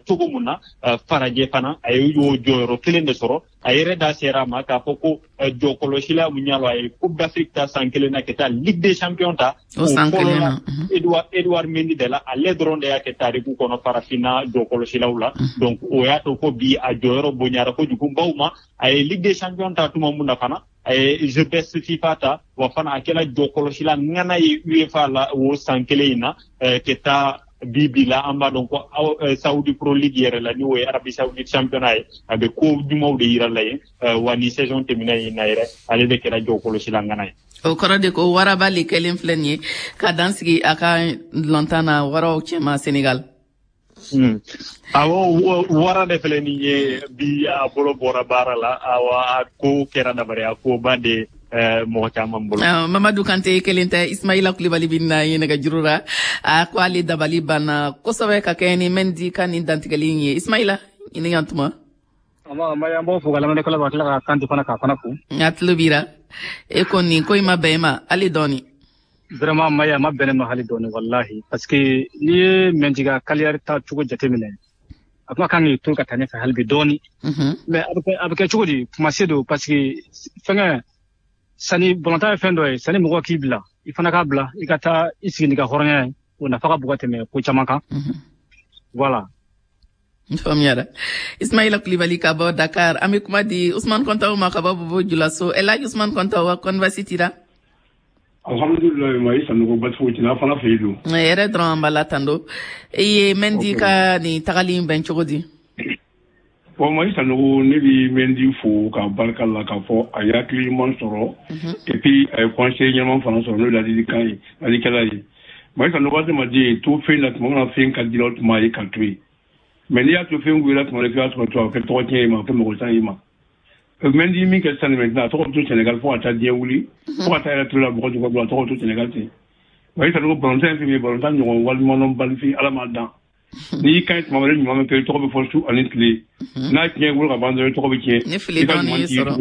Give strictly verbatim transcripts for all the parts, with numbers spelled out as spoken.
Cogo mun na, farajɛ fana a ye o jɔyɔrɔ kelen de sɔrɔ. A yɛrɛ da sera a ma k'a fɔ ko jɔkɔlɔsila mun y'a lɔ, a ye Coupe d'Afrique ta san kelen na, ka taa Ligue des Champions ta o san kelen na. Edouard Edouard Mendy de la, ale dɔrɔn de y'a kɛ tariku kɔnɔ farafinna jɔkɔlɔsilaw la. Donc o y'a to ko bi a jɔyɔrɔ bonyara kojugu baw ma. A ye Ligue des Champions ta tuma mun na fana, a ye The Best FIFA ta, wa fana a kɛra jɔkɔlɔsila ŋana ye UEFA la o san kelen in na. Ka taa bi bi la, an b'a dɔn ko Saudi Pro League yɛrɛ la, n'o ye Arabie Saoudite championnat ye, a bɛ ko ɲumanw de yira la yen. Wa ni saison tɛmɛna yen na yɛrɛ, ale de kɛra jɔkɔlɔsila ŋana ye. O kɔrɔ de ko waraba le kɛlen filɛ nin ye ka dan sigi a ka lɔntan na waraw cɛma Senegal. Mm. Awɔ, wara de filɛ nin ye bi, a bolo bɔra baara la. Awa, a ko kɛra dabariya koba de mɔgɔ caman bolo. Mamadu Kante kelen tɛ, Ismaila Kulibali bi na ye nɛgɛjuru la. A ko ale dabali banna kosɛbɛ ka kɛɲɛ ni Mendy ka nin dantigɛli in ye. Ismaila, i ni yan tuma. An b'o fo ka lamɛnnikɛlaw ka tila ka Kante fana k'a fana fo. A tulo b'i la. E ko nin ko in ma bɛn e ma hali dɔɔni. Vraiment, Maya, a ma bɛn ne ma hali dɔɔni, wallahi, parce que n'i ye Mendy ka carrière ta cogo jateminɛ, a kuma kan k'i to ka taa ɲɛfɛ hali bi dɔɔni. Mais a bɛ kɛ a bɛ kɛ cogo di? Kumase don, parce que fɛngɛ sani balontan ye fɛn dɔ ye, sani mɔgɔ k'i bila, i fana k'a bila i ka taa i sigi n'i ka hɔrɔnya ye, o nafa ka bon ka tɛmɛ ko caman kan. Voilà. N faamuyara, Ismaila Kulibali ka bɔ Dakar. An bɛ kuma di Usman Kɔntaw ma ka bɔ Bobo Julaso. Elhaji Usman Kɔntaw wa, kɔni basi t'i la? Alhamdulilayi, ma i Sanogo, basi foyi tɛ, fana fɛ yen don. Yɛrɛ dɔrɔn an b'a la tando. I ye Mendy ka nin tagali in bɛn cogo di? Bon, Mayi Sanogo, ne bi Mendy fo ka barika la k'a fɔ a ye hakili ɲuman sɔrɔ, et puis a ye conseil ɲɛnama fana sɔrɔ, n'o ye ladilikan ye, ladikɛla ye. Mayi Sanogo, adamaden to fɛn na, tuma min na fɛn ka di la, o tuma ye ka to yen. Mais n'i y'a to fɛn goyara tuma dɔ, k'i b'a sɔrɔ to a bɛ kɛ tɔgɔ tiɲɛ ye ma, a bɛ kɛ mɔgɔ san ye ma. Mendy min kɛ sisan maintenant, a tɔgɔ bɛ to Sénégal fo ka taa diɲɛ wuli, fo ka taa yɛrɛ to la mɔgɔ jukɔrɔ, a tɔgɔ bɛ to Sénégal ten. Mayi Sanogo, balontan ye fɛn min ye, balontan ɲɔgɔn waleɲumandɔnbali Ala m'a dan. N'i y'i kan ye tuma wɛrɛ, ɲuman bɛ kɛ, i tɔgɔ bɛ fɔ su ani tile. N'a tiɲɛ bolo ka ban dɔrɔn, i tɔgɔ bɛ tiɲɛ. Ni fili dɔɔni y'i sɔrɔ.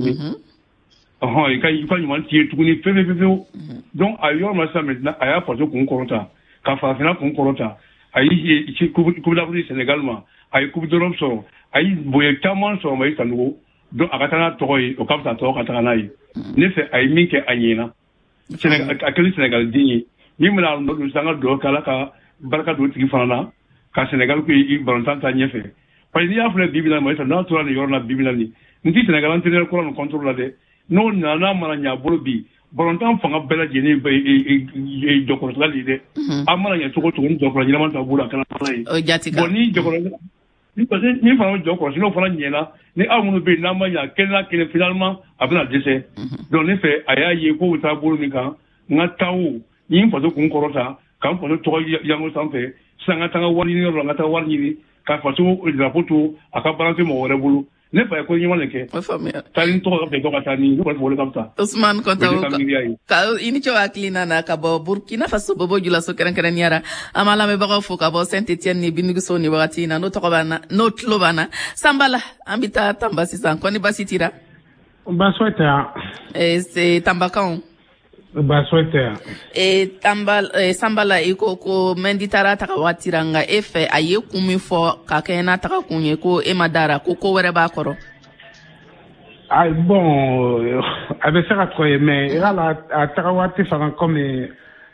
Ɔhɔn, i ka i ka ɲuman t'i ye tuguni fewu fewu fewu. Donc a ye yɔrɔ min na sisan maintenant, a y'a faso kun kɔrɔta, ka farafinna kun kɔrɔta. A ye Coupe d'Afrique Sénégal ma, a ye Coupe d'Europe sɔrɔ, a ye bonya caman sɔrɔ, Mayi Sanogo. Donc a ka taa n'a tɔgɔ ye, o ka fisa tɔgɔ ka taga n'a ye. Ne fɛ, a ye min kɛ, a ɲɛna. A kɛlen Sénégal den ye min bɛna nɔ don sisan, an ka dugawu kɛ Ala ka barika don o tigi fana na, ka Sénégal ko i balontan ta ɲɛfɛ. Parce que n'i y'a filɛ bi bi in na, Mayi Sanogo, n'a tora nin yɔrɔ la bi bi in na nin, n ti Sénégal entraîneur kura nin contre la dɛ. N'o nana, n'a mana ɲɛ a bolo bi, balontan fanga bɛɛ lajɛlen bɛ jɔkɔrɔsila de ye dɛ. An mana ɲɛ cogo o cogo, ni jɔkɔrɔ ɲɛnama t'a bolo, a kɛra ala ye. O jati kan. Bon, ni jɔkɔrɔ ni parce que ni fana bɛ jɔ kɔlɔsi, n'o fana ɲɛna, ni aw minnu bɛ yen n'an ma ɲɛ, kelen n'a kelen, finalement a bɛna dɛsɛ. Donc ne fɛ, a y'a ye k'o bɛ taa bolo min kan, n ka taa o ni n faso kun kɔrɔta, ka n faso tɔgɔ yango sanfɛ sisan, n ka taa n ka wari ɲini yɔrɔ la, n ka taa wari ɲini ka faso drapeau to a ka balancer mɔgɔ wɛrɛ bolo. Ne fa ye ko ɲuman de kɛ. O faamuya. Taa ni tɔgɔ ka fɛ, dɔ ka taa ni ne kɔni fɛ, o de ka fisa. Usman Kɔntaw, O ye ne ka miiriya ye. Ka i ni ce o hakilina na ka bɔ Burkina Faso, Bobo Julaso kɛrɛnkɛrɛnnenya ra. An b'a lamɛnbagaw fo ka bɔ Saint Etienne ni Binigiso ni wagati in na, n'o tɔgɔ b'an na, n'o tulo b'an na. Sanbala, an bɛ taa Tamba sisan. Kɔni basi t'i la? Baasi foyi tɛ yan. Eh, c'est Tambakanw. Baasi foyi tɛ yan. E, Tamba, eh, Sanbala, i ko ko Mendy taara taga waati ra, nka e fɛ, a ye kun min fɔ ka kɛɲɛ n'a taga kun ye, ko e ma dara ko ko wɛrɛ b'a kɔrɔ. Ayi, bon, a bɛ se ka kɔ ye, mais i ka la a taga waati fana, komi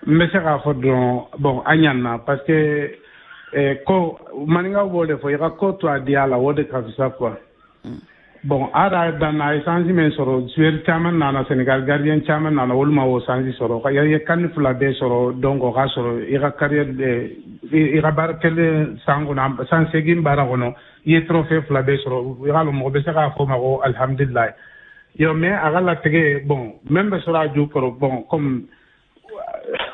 n bɛ se k'a fɔ dɔrɔn, bon, a ɲana, parce que eh, ko maninkaw b'o de fɔ, i ka ko to a diya la, o de ka fisa quoi. Bon, a yɛrɛ danna, a ye chance min sɔrɔ, joueur caman nana Sénégal, gardien caman nana, olu ma o chance sɔrɔ. I ye CAN fila bɛɛ sɔrɔ, donc o ka sɔrɔ i ka carrière, i ka baara kelen san kɔnɔ, san seegin baara kɔnɔ, i ye trophée fila bɛɛ sɔrɔ, i ka lɔn mɔgɔ bɛ se k'a fɔ ma ko alhamdulilayi. Yo, mais a ka latigɛ, bon, même bɛ sɔrɔ a ju kɔrɔ, bon, comme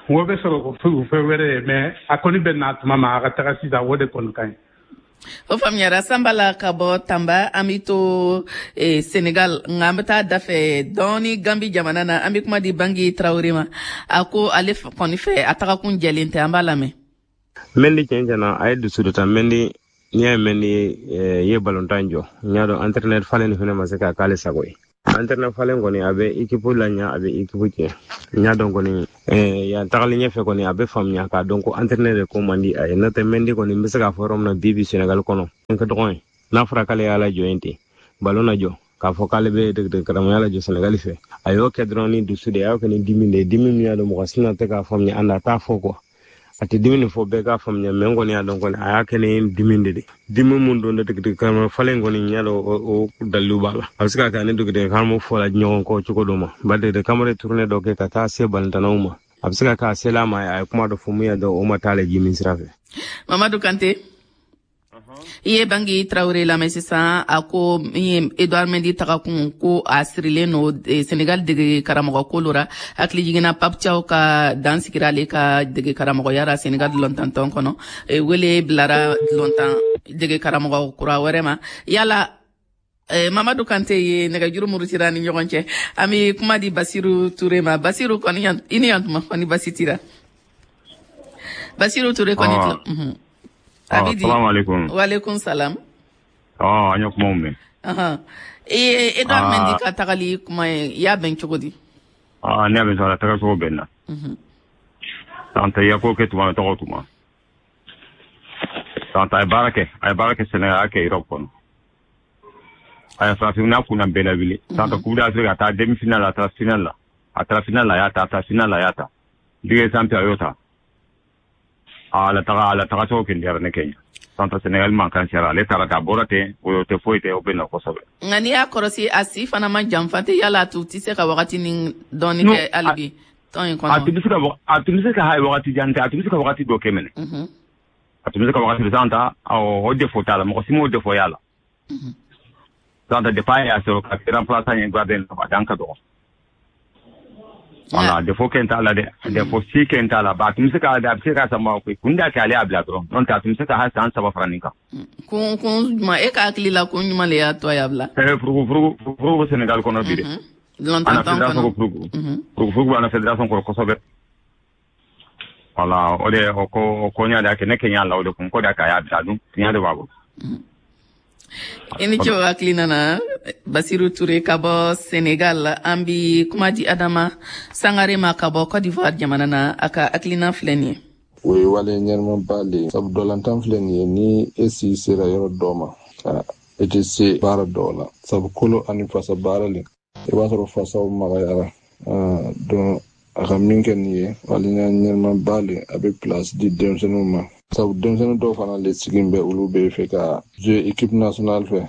o bɛ sɔrɔ ko fɛn wɛrɛ ye, mais a kɔni bɛ na tuma ma a ka taga sisan, o de kɔni ka ɲi. O faamuyara, Sanbala ka bɔ Tamba. An bɛ to eh, Senegal, nka an bɛ taa dafɛ dɔɔni Gambi jamana na. An bɛ kuma di Bangi Tarawele ma. A ko ale kɔni fɛ, a tagakun jɛlen tɛ. An b'a lamɛn. Mendy, tiɲɛ tiɲɛ na, a ye dusu dɔ ta. Mendy, n'i y'a ye Mendy ye balontan jɔ, n y'a dɔn entraîneur falen nin fɛnɛ ma se k'a k'ale sago ye. Entraîneur falen kɔni a bɛ équipe laɲa, a bɛ équipe tiɲɛ. N y'a dɔn kɔni yan tagalen ɲɛfɛ kɔni a bɛ faamuya k'a dɔn ko entraîneur de ko man di a ye. N'o tɛ Mendy kɔni n bɛ se k'a fɔ yɔrɔ min na bi bi Sénégal kɔnɔ n ka dɔgɔn ye, n'a fɔra k'ale y'a lajɔ yen ten ballon na jɔ k'a fɔ k'ale bɛ degeden karamɔgɔya lajɔ Sénégal fɛ, a y'o kɛ dɔrɔn ni dusu de ye, a y'o kɛ ni dimi de ye, dimi min y'a dɔn mɔgɔ si na tɛ k'a faamuya, an na t'a fɔ quoi. A tɛ dimi nin fɔ bɛɛ k'a faamuya, mais n kɔni y'a dɔn kɔni a y'a kɛ ni dimi de de dimi mun don degeden karamɔgɔ falen kɔni n y'a dɔn o dalilu b'a la. A bɛ se ka kɛ ani degeden karamɔgɔ fɔla ɲɔgɔn kɔ cogo dɔ ma, ba degeden karamɔgɔ ye tournée dɔ kɛ ka taa se balontannaw ma, a bɛ se ka kɛ a sela a ma, a ye kuma dɔ fɔ mun y'a dɔn o ma taa ale ji min sira fɛ. Mamadou Kante, i ye Bangi Traoré lamɛn sisan, a ko min ye Edouard Mendy tagakun ko a sirilen no Sénégal dege karamɔgɔ ko la. Hakili jiginna Pape Thiaw ka dan sigira ale ka dege karamɔgɔya la Sénégal lɔntantɔn kɔnɔ, wele bilara lɔntan dege karamɔgɔ kura wɛrɛ ma. Yala Mamadou Kante ye nɛgɛjuru murutira ni ɲɔgɔn cɛ, an bɛ kuma di Basiru Ture ma. Basiru kɔni i ni yan tuma kɔni basi tira. Basiru Ture kɔni. Abidi. Assalamu alaikum. Wa alaikum salam. Ah, an ye kumaw mɛn. Ahan. E Edouard Mendy ka tagali kuma ye, i y'a bɛn cogo di? Ah, ne y'a bɛn sɔrɔ a taga cogo bɛn na. Tanta i ya ko kɛ tuma tɔgɔ tuma. Tanta a ye baara kɛ, a ye baara kɛ Sénégal, a y'a kɛ Europe kɔnɔ. A ye farafinna kunna bɛɛ lawuli. Tanta Coupe d'Afrique a taa demi-finale la, a taara finale la. A taara finale la, a y'a ta, a taara finale la, a y'a ta. Ligue des Champions a y'o ta. A la taga a la taga cogo kɛ diyara ne kɛ ɲa. Tanta Sénégal mankan sera ale taara k'a bɔra ten, o tɛ foyi tɛ, o bɛ na kosɛbɛ. Nka n'i y'a kɔlɔsi a si fana ma janfa tɛ, yala a tun tɛ se ka wagati ni dɔɔni kɛ hali bi tɔn in kɔnɔ. A tun bɛ se ka a tun bɛ se ka hali wagati jan tɛ, a tun bɛ se ka wagati dɔ kɛ minɛ. A tun bɛ se ka wagati dɔ tanta o défaut t'a la, mɔgɔ si m'o défaut y'a la. Tanta depuis a y'a sɔrɔ ka kɛ remplaçant ye gardien a dan ka dɔgɔ. Voilà, défaut kɛ t'a la dɛ, défaut si kɛ t'a la, ba a tun bɛ se ka a bɛ se ka sama koyi, kun da kɛ ale y'a bila dɔrɔn, n'o tɛ a tun bɛ se ka hali san saba fara nin kan. Kun kun jumɛn e ka hakili la kun jumɛn de y'a to a y'a bila? Ɛɛ furugu furugu furugu bɛ Sénégal kɔnɔ bi dɛ. Lɔntantɔn kɔnɔ. Furugu furugu b'an na fédération kɔrɔ kosɛbɛ. Voilà, o de o ko o ko ɲa de y'a kɛ ne kɛ ɲa la o de kun ko de y'a kɛ a y'a bila dun tiɲɛ de b'a bolo. I ni ce o hakilina na Basiru Ture ka bɔ Sénégal. An bi kuma di Adama Sangare ma ka bɔ Côte d'Ivoire jamana na, a ka hakilina filɛ nin ye. O ye wale ɲɛnamaba le ye, sabu dɔlantan filɛ nin ye, ni e si sera yɔrɔ dɔ ma e tɛ se baara dɔw la, sabu kolo ani fasa baara le, i b'a sɔrɔ fasaw magayara. Donc a ka min kɛ nin ye wale ɲɛnamaba le, a bɛ place di denmisɛnninw ma, sabu denmisɛnnin dɔw fana le sigilen bɛ, olu bɛ fɛ ka jouer équipe nationale fɛ.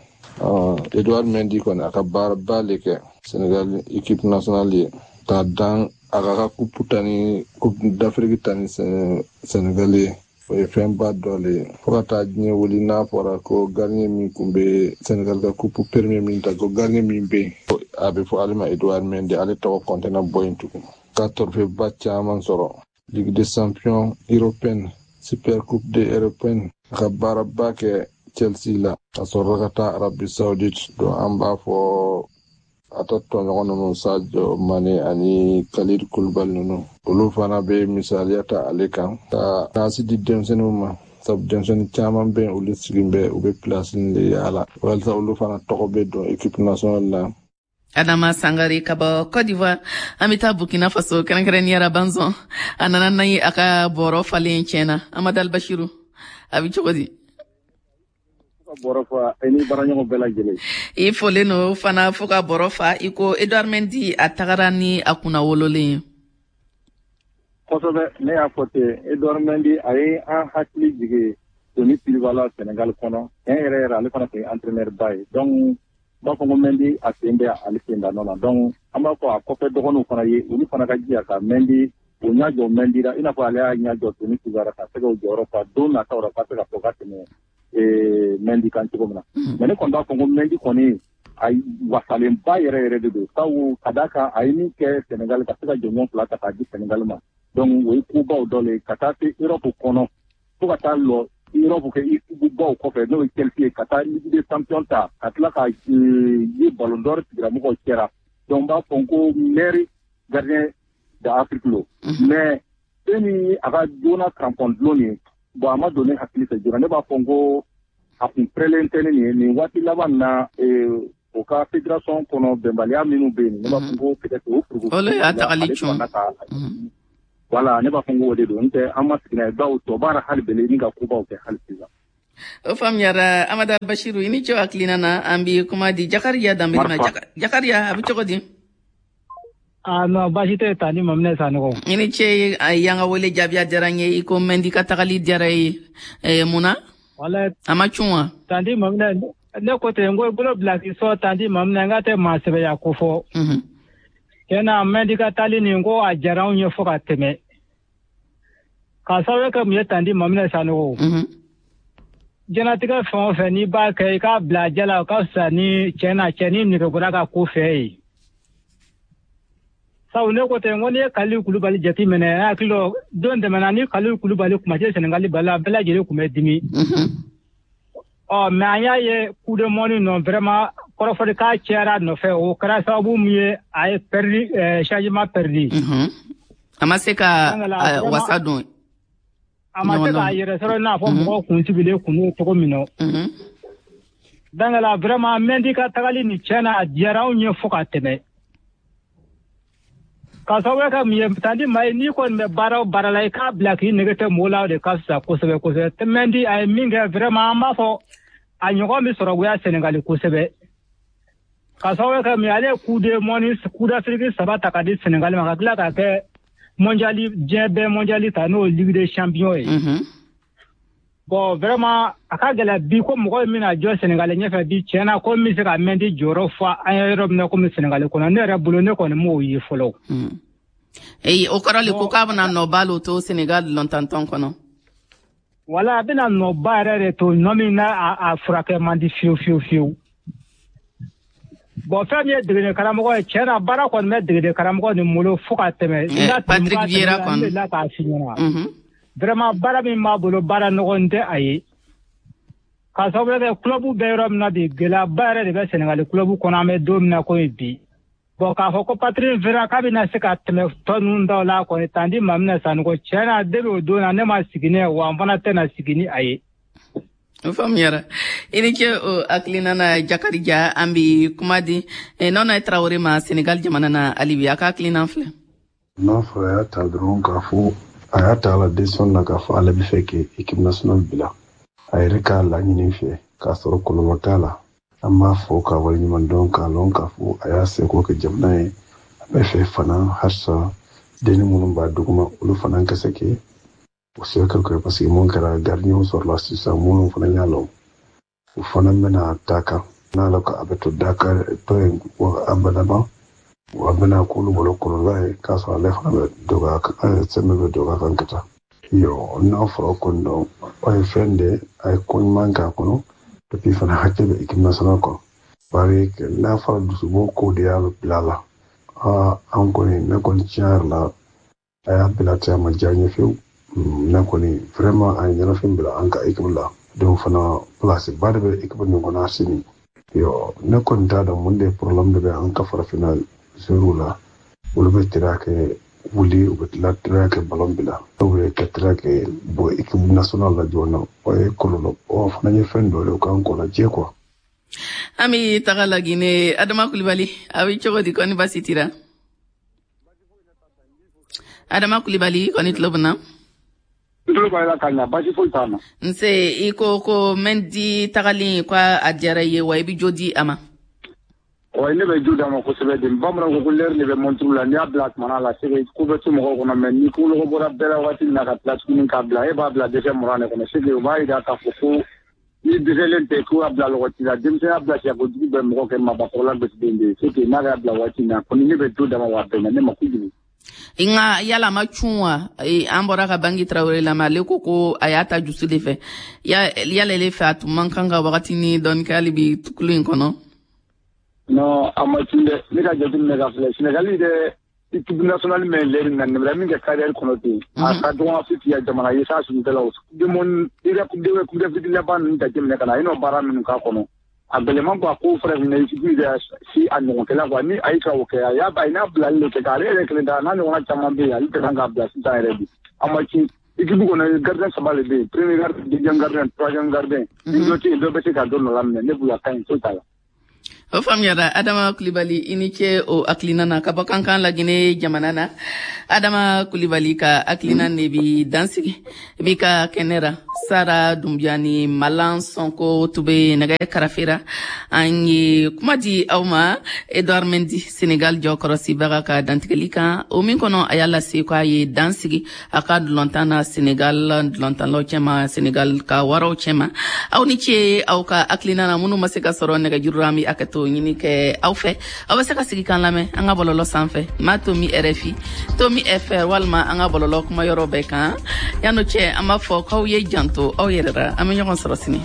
Edouard Mendy kɔni a ka baaraba le kɛ Sénégal équipe nationale ye, k'a dan a ka ka coupe ta ni coupe d'Afrique ta ni Sénégal ye, o ye fɛnba dɔ le ye. Fo ka taa diɲɛ wuli n'a fɔra ko gardien min kun bɛ Sénégal ka coupe premier min ta, ko gardien min bɛ yen, a bɛ fɔ ale ma Edouard Mendy, ale tɔgɔ kɔntɛna bɔ yen tugun. Ka trophée ba caman sɔrɔ, Ligue des champions européenne, Super Coupe de européenne, a ka baaraba kɛ Chelsea la, ka sɔrɔ ka taa Arabie Saoudite. Donc an b'a fɔ a ta tɔɲɔgɔn ninnu Sadio Mané ani Khalid Koulibaly ninnu, olu fana bɛ misaliya ta ale kan ka taasi di denmisɛnninw ma, sabu denmisɛnnin caman bɛ yen olu sigilen bɛ, u bɛ place de yaala walasa olu fana tɔgɔ bɛ don équipe nationale la. Adama Sangare ka bɔ Côte d'Ivoire. An bɛ taa Burkina Faso, kɛrɛnkɛrɛnnenya la Banzon. A nana n'a ye a ka bɔrɔ falen tiɲɛna. Amadu Albashiru, a bɛ cogo di? Ka bɔrɔ fa, i ni baaraɲɔgɔn bɛɛ lajɛlen. I folen no fana fo ka bɔrɔ fa, i ko Edouard Mendy a tagara ni a kunna wololen ye. Kosɛbɛ, ne y'a fɔ ten, Edouard Mendy a ye an hakili jigin Tony Silva la Sénégal kɔnɔ. Tiɲɛ yɛrɛ yɛrɛ ale fana tun ye entraîneur ba ye. Donc b'a fɔ ko Mendy a sen bɛ ale sen da nɔ la. Donc an b'a fɔ a kɔfɛ dɔgɔninw fana ye, olu fana ka jija ka Mendy o ɲɛ jɔ Mendy la, i n'a fɔ ale y'a ɲɛ jɔ Tony Silva la ka se k'o jɔyɔrɔ fa don nataw la, ka se ka fɔ ka tɛmɛ Mendy kan cogo min na. Mais ne kɔni b'a fɔ ko Mendy kɔni a wasalenba yɛrɛ yɛrɛ de don, sabu ka d'a kan a ye min kɛ Sénégal ka se ka jɔnjɔn fila ta k'a di Sénégal ma. Donc o ye kobaw dɔ le ye ka taa se Europe kɔnɔ, fo ka taa lɔ Europe kɛ équipe baw kɔfɛ, n'o ye Chelsea ye, ka taa Ligue des champions ta, ka tila ka ye ballon d'or tigilamɔgɔw cɛra. Donc n b'a fɔ ko meilleur gardien d'Afrique lo. Mais e ni a ka joona crampon dulon nin, bon a ma don ne hakili fɛ joona. Ne b'a fɔ ko a kun pɛrɛlen tɛ ne nin ye nin waati laban na, o O ka fédération kɔnɔ bɛnbaliya minnu bɛ yen, ne b'a fɔ ko peut-être o furuku. Olu y'a tagali cun. Voilà, ne b'a fɔ ko o de don. N tɛ an ma sigi n'a ye, bawo tɔ b'a la hali bele ni ka kobaw kɛ hali sisan. O faamuyara, Amada Bashiru, i ni ce hakilina na. An bi kuma di Jakariya Danbele ma. Jakariya, a bɛ cogo di? Ah non, baasi tɛ Tani Maminɛ Sanogo. I ni ce, y'an ka wele jaabi, a diyara n ye. I ko Mɛndi ka tagali diyara i ye, mun na? Wala. A ma cun wa? Tandi Maminɛ, ne ko ten, n ko i bolo bila k'i sɔn. Tandi Maminɛ, n ka tɛ maa sɛbɛya ko fɔ. Tiɲɛna, Mɛndi ka taali nin ko a diyara anw ye fo ka tɛmɛ. K'a sababu kɛ mun ye, Tandi Maminɛ Sanogo? Diɲɛlatigɛ fɛn o fɛn n'i b'a kɛ, i k'a bila a jɛ la, o ka fisa ni tiɲɛna cɛni nege bɔra ka ko fɛ ye. Sabu ne ko ten, n ko n'i ye Kalilu Kulubali jate minɛ, n hakili la don tɛmɛna ni Kalilu Kulubali kuma tɛ Sɛnɛgali bali la, bɛɛ lajɛlen tun bɛ dimi. Ɔ mais an y'a ye coup de mɔni nɔ, vraiment kɔrɔfɔli k'a cayara a nɔfɛ, o kɛra sababu min ye a ye perdu changement perdu. A ma se ka wasa don. A ma se k'a yɛrɛ sɔrɔ i n'a fɔ mɔgɔw kun sigilen kun n'o cogo min na. Donc la vraiment Mɛndi ka tagali nin, tiɲɛna a diyara anw ye fo ka tɛmɛ. K'a sababu kɛ mun ye, Tandi Maye, n'i kɔni bɛ baara o baara la, i k'a bila k'i nege tɛ mɔgɔw la, o de ka fisa kosɛbɛ kosɛbɛ. Mɛndi a ye min kɛ, vraiment an b'a fɔ a ɲɔgɔn bɛ sɔrɔ goya Sɛnɛgali kosɛbɛ. K'a sababu kɛ mun ye, ale ye coup de mɔni, coup d'Afrique saba ta ka di Sɛnɛgali ma, ka tila k'a kɛ mondial, diɲɛ bɛɛ mondial ta, n'o ye Ligue des champions ye. Bon vraiment a ka gɛlɛn bi ko mɔgɔ min bɛna jɔ Sɛnɛgali ɲɛfɛ bi, tiɲɛna ko min bɛ se ka Mɛndi jɔyɔrɔ fa an ye yɔrɔ min na komi Sɛnɛgali kɔnɔ, ne yɛrɛ bolo ne kɔni m'o ye fɔlɔ. Eyi, o kɔrɔ le ko k'a bɛna nɔba lo to Senegal lɔntantɔn kɔnɔ. Wala, a bɛna nɔba yɛrɛ de to, nɔ min n'a a furakɛ man di fiyewu fiyewu fiyewu. Bon, fɛn min ye degeden karamɔgɔ ye, tiɲɛna baara kɔni bɛ degeden karamɔgɔ nin bolo fo ka tɛmɛ. Patrick Vieira kɔni. N delila k'a f'i ɲɛna. Vraiment baara min b'a bolo, baara nɔgɔn tɛ a ye. K'a sababu kɛ club bɛ yɔrɔ min na bi, gɛlɛyaba yɛrɛ de bɛ Sɛnɛgali club kɔnɔ an bɛ don min na komi bi. Bon, k'a fɔ ko Patrick Vieira k'a bɛna se ka tɛmɛ tɔ ninnu daw la kɔni, Tandi Maminɛ Sanogo, tiɲɛna depuis o don na ne ma sigi ni ye, wa n fana tɛna sigi ni a ye. O faamuyara, i ni ce o hakilina na, Jakarija. An bi kuma di Nɔnɔ Tarawele ma Senegal jamana na hali bi, a ka hakilina filɛ. N'a fɔra a y'a ta dɔrɔn k'a fɔ a y'a ta la décision na k'a fɔ ale bɛ fɛ ka équipe nationale bila a yɛrɛ k'a laɲini fɛ k'a sɔrɔ kɔlɔlɔ t'a la, an b'a fɔ k'a waleɲuman dɔn, k'a lɔn k'a fɔ a y'a seko kɛ jamana ye. A bɛ fɛ fana halisa denni minnu b'a duguma, olu fana ka se kɛ o se ka kɛ, parce que mun kɛra gardien sɔrɔla sisan minnu fana y'a lɔn, o fana bɛna ta kan n'a la a bɛ to Dakar tɔ yen abadama, a bɛna k'olu bolo kɔlɔlɔ ye k'a sɔrɔ ale fana bɛ dɔgɔya kan, sɛmɛ bɛ dɔgɔya kan ka taa. Yo, n'a fɔra kɔni dɔn o ye fɛn de a ye ko ɲuman k'a kɔnɔ, depuis fana hakili bɛ équipe nationale kɔnɔ, bari n'a fɔra dusubɔ ko de y'a bila la. Aa, an kɔni, ne kɔni, tiɲɛ yɛrɛ la a y'a bila ten, a ma diya n ye fiyewu. Ne kɔni vraiment a ye ɲɛnafin bila an ka équipe la, donc fana place ba de bɛ équipe nin kɔnɔ sini. Yo, ne kɔni t'a dɔn mun de problème de bɛ an ka farafinna joueurs la, olu bɛ teriya kɛ wuli, u bɛ tila teriya kɛ ballon bila, dɔw bɛ kɛ teriya kɛ bɔ équipe nationale la joona, o ye kɔlɔlɔ, o fana ye fɛn dɔ ye o k'an kɔlɔjɛ quoi. An bɛ taga Laginɛ, Adama Kulibali, a bɛ cogo di, kɔni baasi t'i la? Adama Kulibali, kɔni tulo bɛ na? N tulo b'a la ka ɲa, baasi foyi t'a na. Nse, i ko ko Mɛndi tagali ko a diyara i ye wa, i bɛ jo di a ma? Wa ne bɛ jo d'a ma kosɛbɛ de. Bamananw ko ko l'heure de bɛ montre la, n'i y'a bila tuma la, c'est que ko bɛ to mɔgɔw kɔnɔ, mais ni ko lɔgɔ bɔra bɛɛ la waati min na ka tila tuguni k'a bila, e b'a bila dɛsɛ mugan de kɔnɔ, c'est que o b'a jira k'a fɔ ko ni dɛsɛlen tɛ ko y'a bila lɔgɔ la, denmisɛnya bila siya kojugu bɛ mɔgɔ kɛ maabakɔrɔla gosiden de ye, c'est que n'a y'a bila waati min na kɔni, ne bɛ jo d'a ma wa a bɛnna ne ma kojugu. Nka yala a ma cun wa? An bɔra ka Bangi Tarawele lamɛn, ale ko ko a y'a ta dusu de fɛ. Yala ele fɛ a tun man kan ka wagati ni dɔɔni kɛ hali bi kulu in kɔnɔ? Non, a ma cun dɛ. Ne ka jateminɛ ka filɛ, Sénégal yɛrɛ équipe nationale min lɛri na nin min kɛ carrière kɔnɔ ten, a ka dɔgɔn Afrique ya jamana ye sa sunutɛlaw demon i ka coupe de coupe d'Afrique laban ninnu jateminɛ ka na, a ye n'o baara minnu k'a kɔnɔ, a gɛlɛman quoi, ko farafinna équipe yɛrɛ si a ɲɔgɔnkɛla quoi, ni a ye ka o kɛ, a y'a a ye n'a bilali de kɛ k'ale yɛrɛ kelen ta, n'a ɲɔgɔnna caman bɛ yen, ale tɛ kan k'a bila sisan yɛrɛ bi. A ma ci équipe kɔnɔ, gardien saba de bɛ yen, premier gardien, deuxième gardien, troisième gardien, ni dɔ tɛ yen, dɔ bɛ se ka dɔ nɔ laminɛ. Ne bolo a ka ɲi, foyi t'a la. O faamuyara. Adama Kulibali, i ni ce o hakilina na ka bɔ Kankan, Lagine jamana na. Adama Kulibali ka hakilina ne bi dansigi bi ka kɛnɛ ra. Sara Dunbiya ni Malan Sɔnko tun bɛ nɛgɛ karafera. An ye kuma di aw ma Edouard Mendy, Senegal jɔkɔrɔsibaga ka dantigɛli kan, o min kɔnɔ a y'a lase k'a ye dan sigi a ka dulɔntan na Senegal dulɔntanlaw cɛma, Senegal ka waraw cɛma. Aw ni ce aw ka hakilina na. Minnu ma se ka sɔrɔ nɛgɛjuru la, an bɛ hakɛto ɲini kɛ aw fɛ. Aw bɛ se ka sigi k'an lamɛn an ka bɔlɔlɔ sanfɛ, ma tomi R F I tomi F R, walima an ka bɔlɔlɔ kuma yɔrɔ bɛɛ kan. Yan'o cɛ, an b'a fɔ k'aw ye janto aw yɛrɛ la. An bɛ ɲɔgɔn sɔrɔ sini.